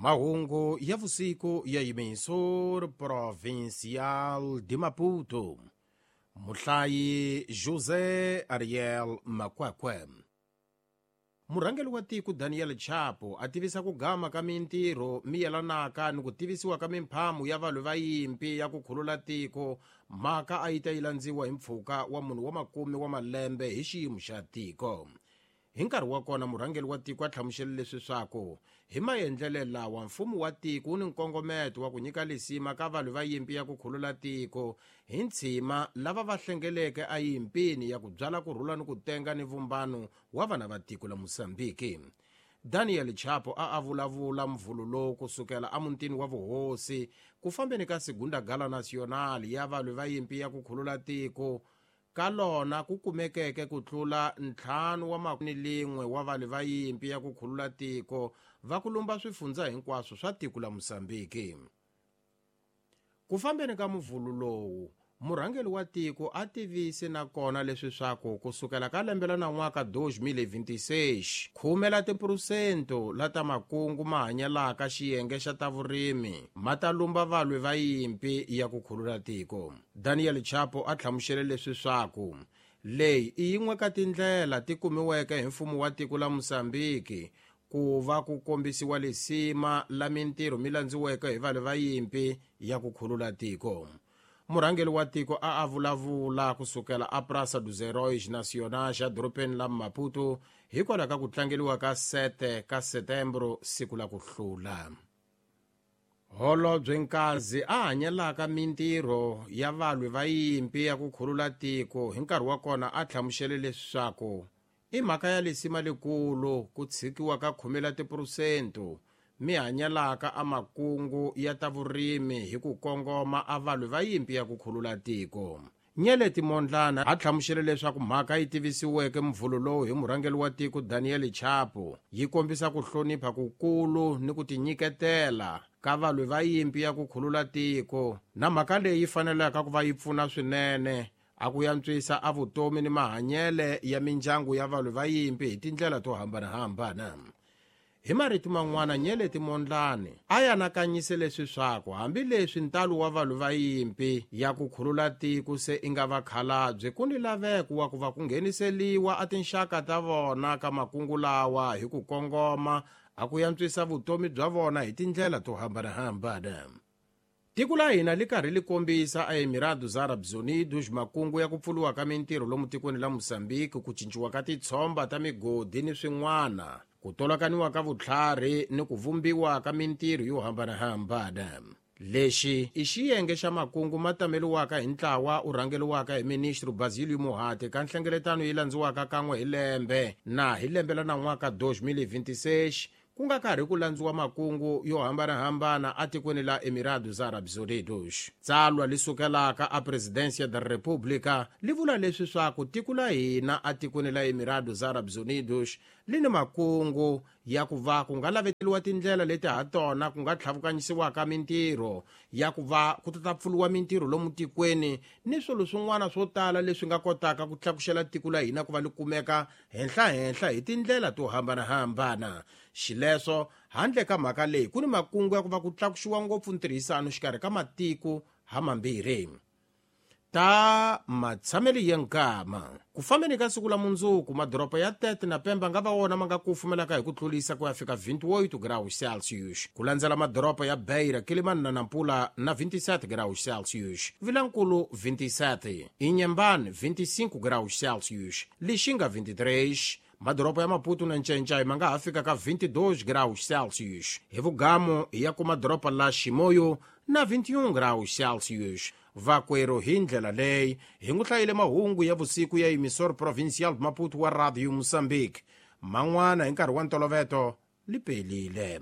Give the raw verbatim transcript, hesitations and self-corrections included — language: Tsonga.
Mahungu ya vusiku ya Emissora Provincial de Maputo. Muhlayi José Ariel Makwakwe. Murhangeri wa tiko Daniel Chapo a tivisa ku gama ka mintirho mi yelanaka ni ku tivisiwa ka mimphamu ya valwi va yimpi ya ku khulula tiko, mhaka a yi ta yi landziwa hi mpfhuka wa munhu wa makume wa malembe hi xiyimo xa tiko. Hi nkarhi wa kona murhangeri wa tiko a hlamusele leswi swaku hi maendlele lawa mfumo wa tiko wu ni nkongometo wa ku nyika lisima ka valwi va yimpi ya ku khulula tiko hi ntshima lava va hlengeleke eyimpini ya ku byala ku rhula ni ku tenga ni vumbano wa vana va tiko la Mozambique. Daniel Chapo a a vulavula mvulu lowu kusukela emutini wa vuhosi ku fambeni ka Segunda Gala Nacional ya valwi va yimpi ya ku khulula tiko ka lona ku kumekeke ku tlula ntlhanu wa makume lin'we wa valwi va yimpi ya ku khulula tiko va ku lumba swifundza hinkwaswo swa tiko la Mozambique. Ku fambeni ka muvhulu lowu, murhangeri wa tiko a tivise nakona leswi swaku kusukela ka lembe la nan'waka dois mil e vinte e seis, khume la tiphurosento la ta makungu ma hanyelaka xiyenge xa ta vurimi ma ta lumba valwi va yimpi ya ku khulula tiko. Daniel Chapo a hlamusele leswi swaku leyi i yin'we ka tindlela ti kumiweke hi mfumo wa tiko la Mozambique ku va ku kombisiwa lisima la mintirho mi landziweke hi valwi va yimpi ya ku khulula tiko. Murhangeri wa tiko a a vulavula kusukela a Praça dos Heróis Nacionais edorobeni la Maputo hikwalaho ka ku tlangeriwa ka sete ka Setembro, siku la ku hlula. Holobye Nkazi a hanyelaka mintirho ya valwi va yimpi ya ku khulula tiko hi nkarhi wa kona a hlamusele leswaku i mhaka ya lisima lekulu ku tshikiwa ka khume la tiphurosento mi hanyelaka a makungu ya ta vurimi hi ku kongoma a valwi va yimpi ya ku khulula tiko. Nyeleti Mondlana a hlamusele leswaku mhaka yi tivisiweke mvhulu lowu hi murhangeri wa tiko Daniel Chapo yi kombisa ku hlonipha kukulu ni ku tinyiketela ka valwi va yimpi ya ku khulula tiko, na mhaka leyi yi fanelaka ku va yi pfuna swinene a ku yantswisa a vutomi ni mahanyele ya mindyangu ya valwi va yimpi hi tindlela to hambanahambana. Hi marito man'wana, Nyeleti Mondlane a anakanyise leswi swaku hambileswi ntalo wa valwi va yimpi ya ku khulula tiko se i nga vakhalabye, ku ni laveko wa ku va ku ngheniseliwa a tinxaka ta vona ka makungu lawa hi ku kongoma a ku yantswisa vutomi bya vona hi tindlela to hambanahambana. Tiko la hina li karhi li kombisa a Emirados Árabes Unidos makungu ya ku pfuriwa ka mintirho lomu tikweni la Mozambique, ku cinciwa ka titshomba ta migodi ni swin'wana, ku tolakaniwa ka vutlhari ni ku vumbiwa ka mintirho yo hambanahambana. Lexi i xiyenge xa makungu ma tameliwaka hi ntlawa u rhangeriwaka hi ministro Basilio Muhate ka nhlengeletano yi landziwaka kan'we hi lembe na hi lembe la nan'waka dois mil e vinte e seis, ku nga karhi ku landziwa makungu yo hambanahambana atikweni la Emirados Árabes Unidos. Tsalwa li sukelaka a Presidência da República li vula leswi swaku tiko la hina atikweni la Emirados Árabes Unidos li ni makungu ya ku va ku nga laveteliwa tindlela leti ha tona ku nga tlhavukanyisiwaka mintirho ya ku va ku ta pfuriwa mintirho lomu tikweni ni swilo swin'wana swo tala leswi nga kotaka ku tlakuxela tiko la hina ku va li kumeka henhla-henhla hi tindlela to hambanahambana. Xileswo handle ka mhaka leyi ku ni makungu ya ku va ku tlakuxiwa ngopfu ntirhisano xikarhi ka matiko hamambirhi. Ta matshameli ya nkama ku fambeni ka siku la mundzuku, madoroba ya Tete na Pemba nga va wona ma nga kufumelaka hi ku tlulisa ku ya fika vinte e oito graus Celsius, ku landzela madoroba ya Beira, Quelimane na Nampula na vinte e sete graus Celsius, Vilankulu vinte e sete, Inhambane vinte e cinco graus Celsius, Lixinga vinte e três, madoroba ya Maputo na Ncencai ma nga ha fika ka vinte e dois graus Celsius, hi vugamo ya ku madoroba la Chimoio na vinte e um graus Celsius. Vakwero hi ndlela leyi hi n'wi hlayile mahungu ya vusiku ya Emissora Provincial Maputo wa Radio Mozambique. Man'wana hi nkarhi wa ntoloveto li pelile.